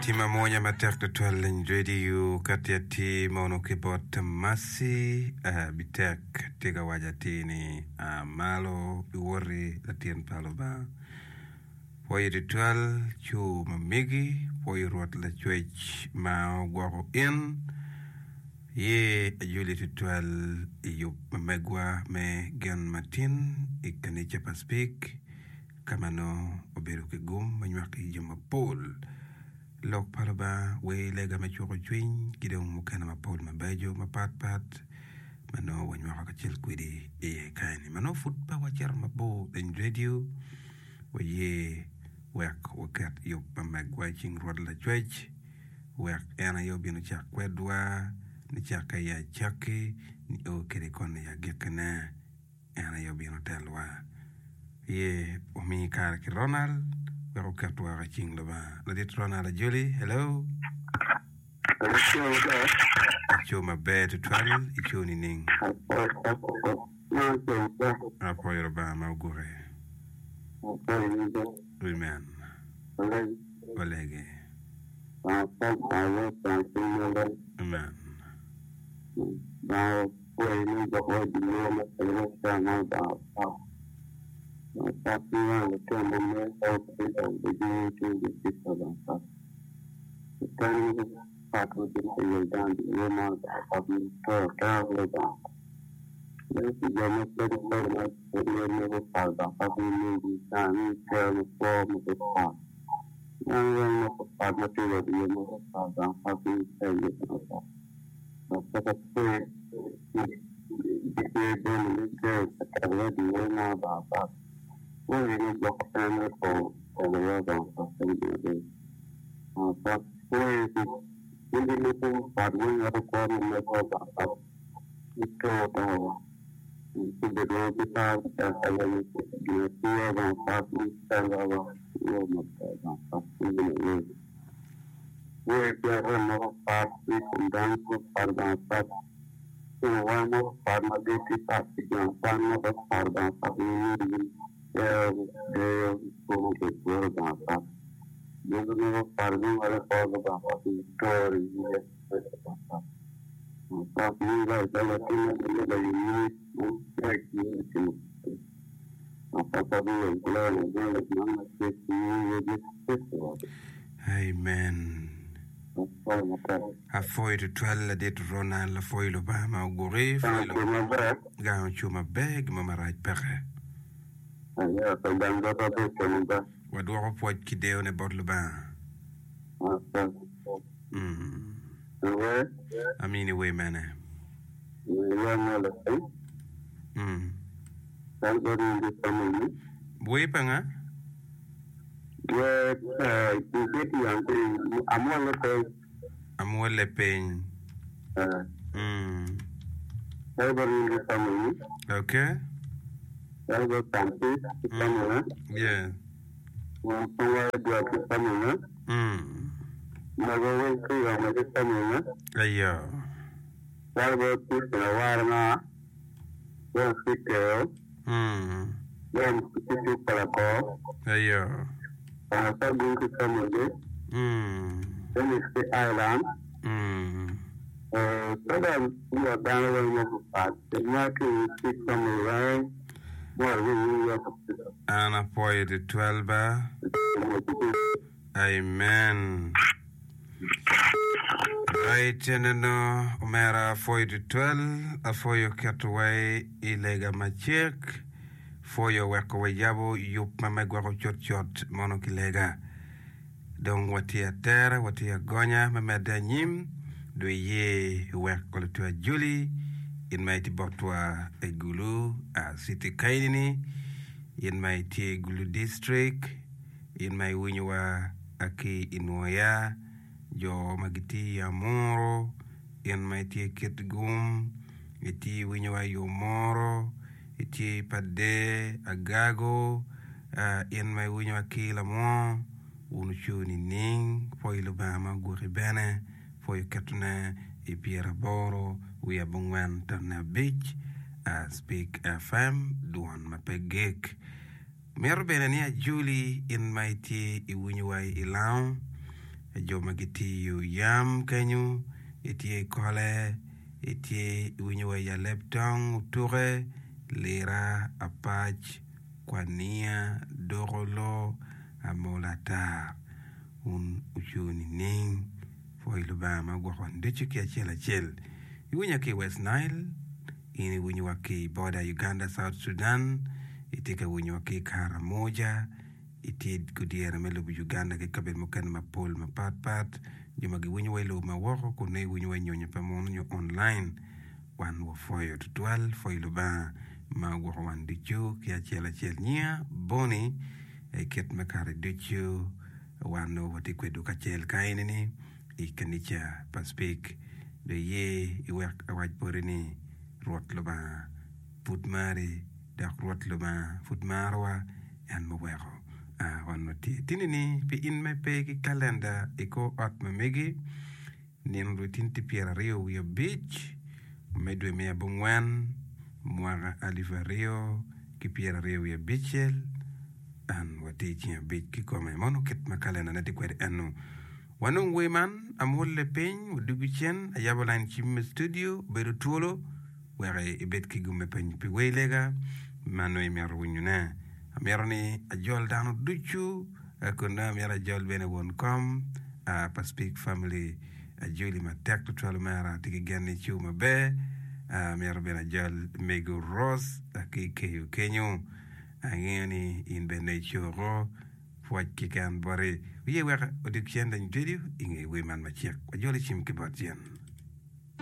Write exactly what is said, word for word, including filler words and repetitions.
Tye mamwonya matek tutwal leny radio ka tye atir mono ki bot Mercy Bitek tye ka waco atir ni a malo iwoti latin pa Lubanga. Pwoyo tutwal cur ma megi, pwoyo Rwot Lacwec ma ogwoko in, ye ajoli tutwal i yub ma megwa me gen matin i kanica pa Speke ka ma nongo obedo ki gum me nywako i jo mapol lok pa Lubanga, wer lega me cuko cwiny ki dong mukene mapol mabeco mapatpat ma nongo wanywako kacel kwedi iye kany-ni. Ma nongo pud pe wacito mabor i redio, waye wek waket yub ma megwa i cing Rwot Lacwec wek en aye obin ocak kwedwa nicakke i acakki nio kede koni i agikkine. En aye obino telwa. Ye omi kare ki Ronald wek oket woko i cing Lubanga. Ladit Ronald Ajoli, hello. Aco maber tutwal, ico nining? Apwoyo Lubanga ma ogwoki. Amen. Walege. Amen. Amen. Apwoyo tutwal ladit Ronald, apwoyo Lubanga ma ogwoki, gang oco maber gin mo marac peke. Wadwoko pwoc ki deyone bot Lubanga. Mm. Amini wer mene? Mm. Wer pa nga? Amwolle piny. Mm. Okay. Mm. Yeah. Mm. Ayo. Mm. Ayo. Mm. Mm. An apwoyo tutwal ba. Amen. Right eneno omera apwoyo tutwal apwoyo keto wa i lega macek pwoyo weko wayabo yub ma me gwoko cutcut mono ki lega dong watye atera watye agonya me medde anyim dong iye wek lutwe ajoli in ma itye botwa i Gulu city kaini in ma itye i Gulu district in ma iwinyowa ki i Nwoya jo ma gitye i Amuru in ma itye i Kitgum itye iwinyowa i Omoro itye i Pader Agago in ma iwinyowa ki i Lamwor wun wuco nining pwoyo Lubanga ma ogwoki bene pwoyo ketone i pyeraboro wiye abongwen tonne abic Speak F M dwon ma pe gik. Mito bene ni ajoli in ma itye iwinyowa i Lango, Jo ma gitiyo yam kenyo, itye i kole, itye iwinyo wa i aleb tong, otuke, lira, apac, kwania, dokolo, amola ata. Wun wucung nining? Pwoy Lubanga ma ogwoko wan ducu ki acel acel. Iwinya ki i West Nile, in iwinyowa ki i boda Uganda South Sudan, itye ka winyowa ki i Karamoja, itye gudyere me lobo Uganda ki kabedo mukene mapol mapat pat. Jo ma giwinyowa i lobo ma woko kun nongo iwinyowa i nyonyo pa munu nyo online, wan wapwoyo tutwal. Pwoy Lubanga ma ogwoko wan ducu ki acel acel. Nyinga Bonnie, i kit me kare ducu wan nongo watye kwedwu kacel ka eni-ni i kanica pa Speke. Dong iye iwek awac boti ni Rwot Lubanga pud mari, dok Rwot Lubanga pud marowa, en muweko wan watye. Tini-ni pi in ma ipe ki kalenda i kor ot ma megi, nino dwe tin tye pyeraryo wiye abic me dwe me abongwen mwaka alip aryo ki pyeraryo wiye abicel, an watye i ceng abic kikome. Mono kit ma kalendane tye kwede eno. Wanong wer man, amwolle piny, wadwogo cen, ayabo lain cim me studio, obedo twolo wek ibed ki gum me penyo pi wer lega ma nongo imito winyone. Amito ni ajol dano ducu, kun nongo amito ajol bene won kom pa Speak Family, ajoli matek tutwal omera, atye ki gen ni icu maber. Amito bene ajol mego Rose ki i Keyo kenyo, angeyo ni in bene icoko. Pwoc keken boti. Wiye wek odog cen lany ducu i nge wer man macek. Wajol i cim ki bot cen.